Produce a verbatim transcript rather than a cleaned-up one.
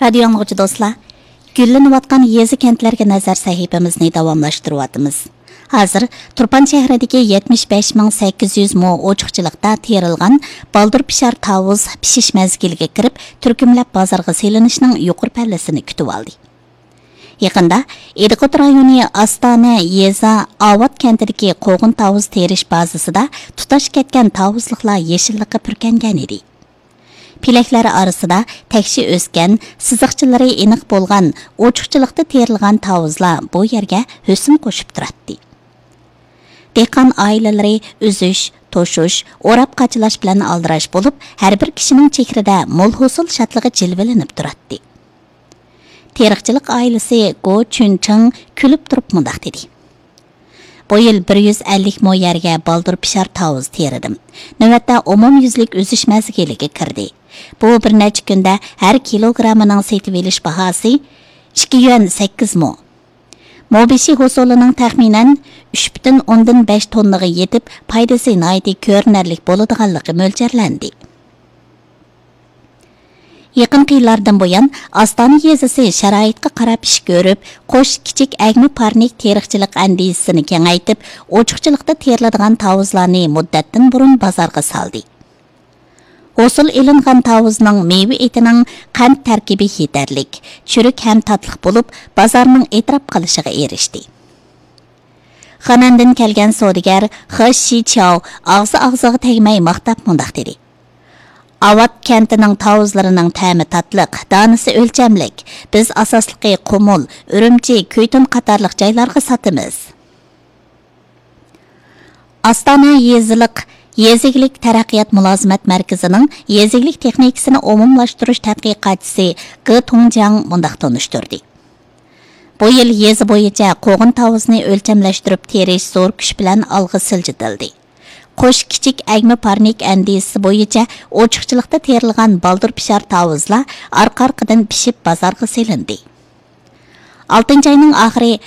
رادىيو ئاڭلىغۇچى دوستلار، گۈللىنىۋاتقان يېزا كەنتلەرگە نەزەر سەھىپىمىزنى داۋاملاشتۇرۇۋاتىمىز. ھازىر تۇرپان شەھىرىدىكى يەتمىش بەش مىڭ سەككىز يۈز مو ئوچۇقچىلىقتا تېرىلغان بالدۇر پىشار تاۋۇز پىشىش مەزگىلىگە كىرىپ، تۈركۈملەپ بازارغا سېلىنىشنىڭ يۇقىرى پەللىسىنى كۈتۈۋالدى. يېقىندا ئىدىقۇت رايونى ئاستانە يېزا ئاۋات كەنتىدىكى قوغۇن تاۋۇز تېرىش بازىسىدا تۇتاش كەتكەن تاۋۇزلۇقلار يېشىللىققا پۈركەنگەن ئىدى. پېلەكلەر ئارىسىدا تەكشى ئۆسكەن، سىزىقچىلىرى ئېنىق بولغان، ئوچۇقچىلىقتا تېرىلغان تاۋۇزلار بۇ يەرگە ھۆسن قوشۇپ تۇراتتى. دېھقان ئائىلىلىرى ئۈزۈش، توشۇش، ئوراپ قاچىلاش بىلەن ئالدىراش بولۇپ، ھەر بىر كىشىنىڭ چېھرىدە مول ھوسۇل شادلىقى جىلۋىلىنىپ تۇراتتى. تېرىقچىلىق ئائىلىسى گو چۈنچىڭ كۈلۈپ تۇرۇپ مۇنداق دېدى: بۇ يىل بىر يۈز ئەللىك مو يەرگە بالدۇر پىشار تاۋۇز تېرىدىم. نۆۋەتتە ئومۇميۈزلۈك ئۈزۈش مەزگىلىگە كىردى. بۇ بىر نەچچە كۈندە ھەر كىلوگرامىنىڭ سېتىۋېلىش باھاسى ئىككى يۈەن سەككىز مو. مو بېشى ھوسۇلىنىڭ تەخمىنەن ئۈچ پۈتۈن ئوندىن بەش توننىغا يېتىپ، پايدىسى ناھايىتى كۆرۈنەرلىك بولىدىغانلىقى مۆلچەرلەندى. يېقىنقى يىللاردىن بۇيان، ئاستانە يېزىسى شارائىتقا قاراپ ئىش كۆرۈپ، قوش كىچىك ئەگمە پارنىك تېرىقچىلىق ئەندىزىسىنى كېڭەيتىپ، ئوچۇقچىلىقتا تېرىلىدىغان تاۋۇزلارنى مۇددەتتىن بۇرۇن بازارغا سالدى. ھوسۇل ئېلىنغان تاۋۇزنىڭ مېۋە ئېتىنىڭ قەنت تەركىبى يېتەرلىك، چۈرۈك ھەم تاتلىق بولۇپ، بازارنىڭ ئېتىراپ قىلىشىغا ئېرىشتى. خېنەندىن كەلگەن سودىگەر خې شىچياۋ ئاغزى ئاغزىغا تەگمەي ماختاپ مۇنداق دېدى: ئاۋات كەنتىنىڭ تاۋۇزلىرىنىڭ تەمى تاتلىق، دانىسى ئۆلچەملىك. بىز ئاساسلىقى قۇمۇل، ئۈرۈمچى، كۈيتۇن قاتارلىق جايلارغا ساتىمىز. ئاستانە يېزىلىق، يېزا ئىگىلىك تەرەققىيات مۇلازىمەت مەركىزىنىڭ يېزا ئىگىلىك تېخنىكىسىنى ئومۇملاشتۇرۇش تەتقىقاتچىسى گې تۇڭجياڭ مۇنداق تونۇشتۇردى: بۇ يىل يېزا بويىچە قوغۇن تاۋۇزنى ئۆلچەملەشتۈرۈپ تېرىش زور كۈچ بىلەن ئالغا سىلجىتىلدى. قوش كىچىك ئەگمە پارنىك ئەندىزىسى بويىچە ئوچۇقچىلىقتا تېرىلغان بالدۇر پىشار تاۋۇزلار ئارقا-ئارقىدىن پىشىپ بازارغا سېلىندى. ئالتىنچى ئاينىڭ ئاخىرى